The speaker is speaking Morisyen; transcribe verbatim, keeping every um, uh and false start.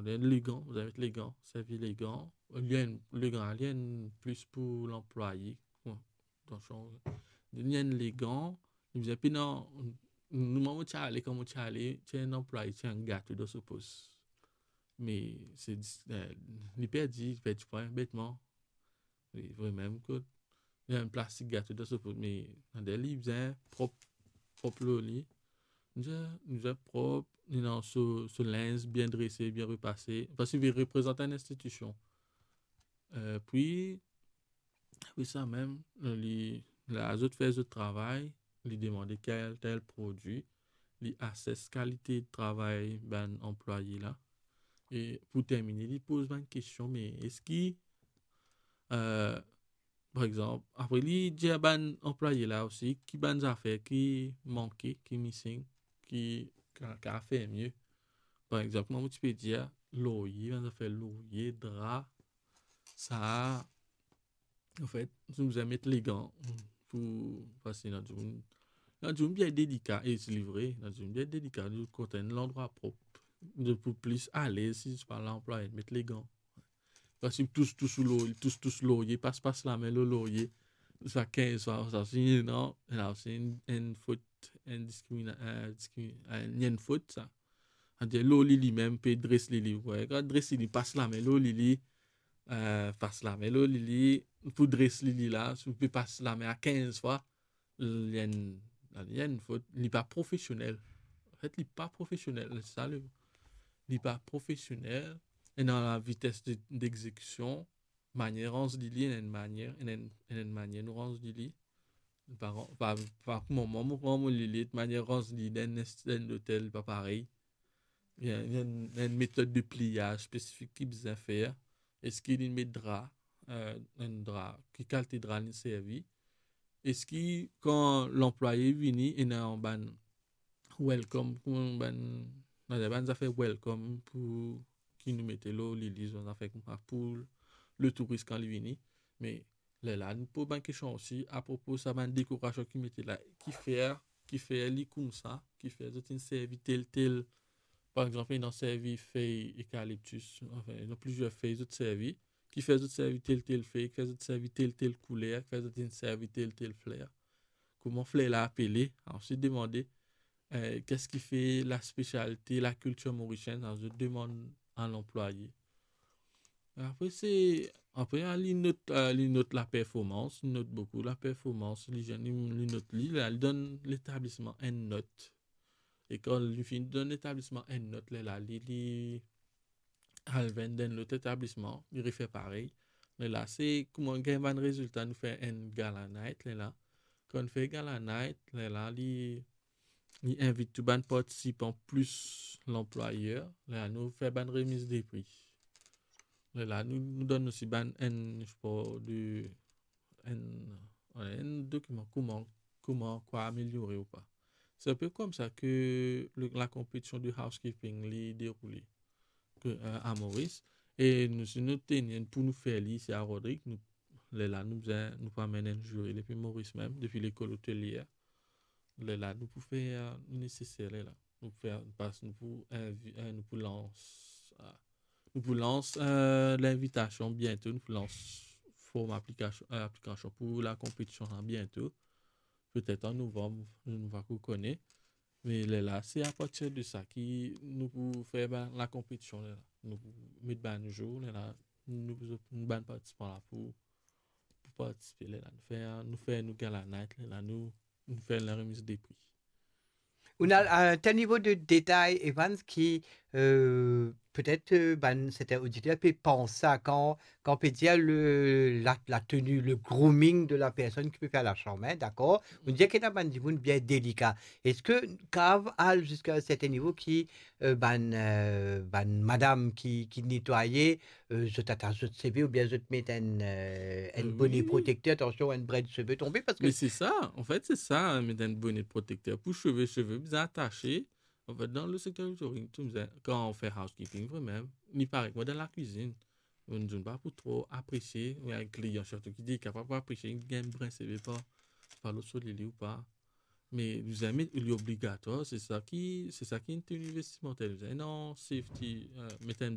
Legan, bizin met legan, servi legan. Li enn, legan, li enn plis pou lanplwaye. Bon, atansion, li enn legan, li bizin pena, nou, mwa mo ti ale, kan mo ti ale, ti enn anplwaye, ti enn gato dan so pos. Me se dis-, eh, li perdi, li perdi pwin, betman. Li vremem kot. Li enn plastik gato dan so pos, me aster li bizin prop, prop lor li. Li bizin, li bizin prop, li ena so, so linz bien drese, bien repase. Parski li reprezant enn institision. Eh, pi, apre sa mem, li, la zot fer zot travay, li demande tel, tel prodwi, li ases kalite travay bann anplwaye la. E pou termine, li poz bann kestion, me eski, eh, par exanp, apre li dir bann anplwaye la osi, ki bann zafer ki manke, ki missing, ki ka, ka fer mie. Par exanp, mwa mo ti pe dir, lorye, bann zafer lorye, dra, sa, anfet, nou bizin met legan pou, parski ena dimoun, ena dimoun bien delika, e se li vre, ena dimoun bien delika, nou kontan enn landrwa prop. Nou pou plis alez si nou pa lanplwaye met legan. Parski tous, tous lor, tous, tous lorye, pas, pas lame lor lorye. Sa kinz fwa, sa si, non, la se enn, enn fot, enn diskrimina-, eh, diskri-, eh, enn fot sa. Savedir lor li limem, pe dres li li. Wi, kan dres li li, pas lame lor li li, eh, pas lame lor li li, pou dres li li la, si ou pe pas lame a kinz fwa, li enn, li enn fot, li pa profesionel. Anfet, li pa profesionel, se sa le, li pa profesionel, e dan la vites de, degzekision, manier ranz li li, ena enn manier, ena enn, ena enn manier nou ranz li li. Pa, pa, pa kouma mwa, mo pran mo lilit, manier ranz li dan enn, dan enn lotel, pa parey. Li ena, li ena enn, enn metod de pliyaz spesifik ki bizin fer. Eski li met dra, eh, enn dra, ki kalite dra li servi? Eski kan lanplwaye vini, ena bann welcome, kouma bann, bann zafer welcome pou ki nou mete lor li li, bann zafer koumsa pou letouris kan li vini. Me lerla nou poz bann kestion osi apropo sa bann dekorasion ki mete la, ki fer, ki fer li koumsa, ki fer zot inn servi tel, tel, par exanp, ena servi fey ekaliptis, anfin, ena plizier fey zot servi, ki fer zot servi tel, tel fey, ki fer zot servi tel, tel kouler, ki fer zot inn servi tel, tel fler. Kouma fler la apele? Ensuite demande, eh, qu'est-ce qui fait la spécialité, la culture mauricienne? Sa zot demann a lanplwaye. Apre se, apre, ah, li not, ah, li not laperformans, li not boukou laperformans, li, li, li not li, la, li donn letablisman enn not. E kan li finn donn letablisman enn not, lerla li, li al vinn dan lot letablisman, li refer parey. Lerla se kouma gagn bann rezilta, nou fer enn gala night, lerla. Kan nou fer gala night, lerla li, li invit tou bann partisipan plis lanplwayer, lerla nou fer bann remiz de pri. Lerla nou, nou donn osi bann enn, je pense, de, enn, enn dokiman kouma, kouma kwa ameliore ou pa. Se enn pe koumsa ke le, la konpetision de housekeeping li deroule, ke, eh, a Moris. E nou, si nou teni enn pou nou fer li isi a Rodrig, nou, lerla nou bizin, nou pou amenn enn ziri depi Moris mem, depi lekol otelier. Lerla nou pou fer, eh, neseser lerla. Nou pou fer, pas, nou pou invi-, eh, nou pou lans, ah, nou pou lans, eh, linvitasion biento, nou pou lans form aplikasion, eh, aplikasion pou la konpetision la biento. Petet an novanm, nou pa pou kone. Me lerla, se apartir de sa ki nou pou fer, ben, la konpetision lerla. Nou pou met bann zour lerla, nou, nou bann partisipan la pou, pou partisipe lerla. Nou fer, nou fer nou gala night lerla, nou, nou fer la remiz de pri. Ou ena, eh, tel nivo de detay, Evans, ki, eh, petet, eh, bann sertin oditer pe pans sa kan, kan pe dir le, la, la tenue, le grooming de la personne ki pe fer lasanm, hein, dakor? Ou dir ki ena bann dimoun bien delika. Eski kav al ziska enn sertin nivo ki, eh, bann, eh, bann madam ki, ki netwaye, eh, zot atas zot seve oubien zot met enn, eh, enn, eh, bone, wi, protekter, atansion, enn bred seve tonbe, parski... Me se sa, anfet, se sa, met enn bone protekter pou seve, seve bizin atase. Anfet, dan le sekter tourism, tou bizin, kan ou fer housekeeping, vremem, li parey kouma dan lakwizinn. Enn dimoun pa pou tro apresie, ou enn klian sirtou ki delika, pa pou apresie, gagn brin seve pa, pa lot so li li ou pa. Me bizin met, li obligatwar, se sa ki, se sa ki enn tenue vestimanter, bizin, non, safety, eh, met enn